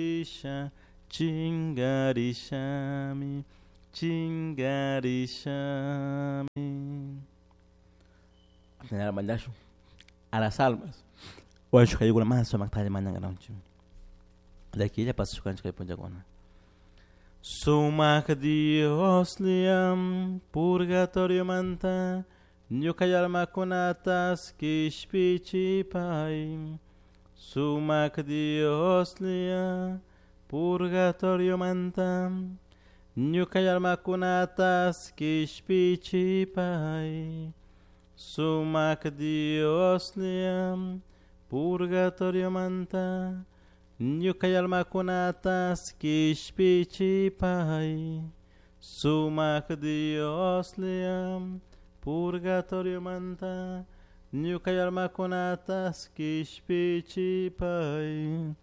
Chingarisha, chingarishami, chingarishami. A las almas. Sumak Dios liam purgatorio manta ñuka almakunatas kishpichipay. Sumak Dios lia purgatorio manta ñuka almakunatas kishpichipay. Sumak Dios lia purgatorio manta ñuka almakunatas kishpichipay. Sumak Dios lia purgatorio manta ñuka almakunatas kishpichipay.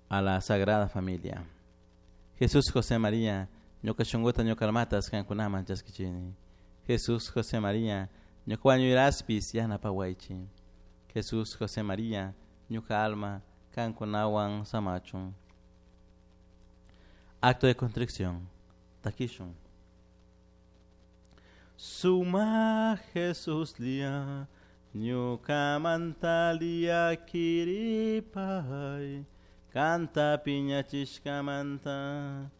A la Sagrada Familia. Jesús José María, ñuka shunkuta ñuka almatas kankunaman chaskichini. Jesús José María, ñuka wañuyraspis yanapawaychi. Jesús José María, ñuka alma kankunawan samachun. Acto de contrición. Takishun. Suma Jesús lia, ñuka mantalia kiripay, kanta piñachishkamanta.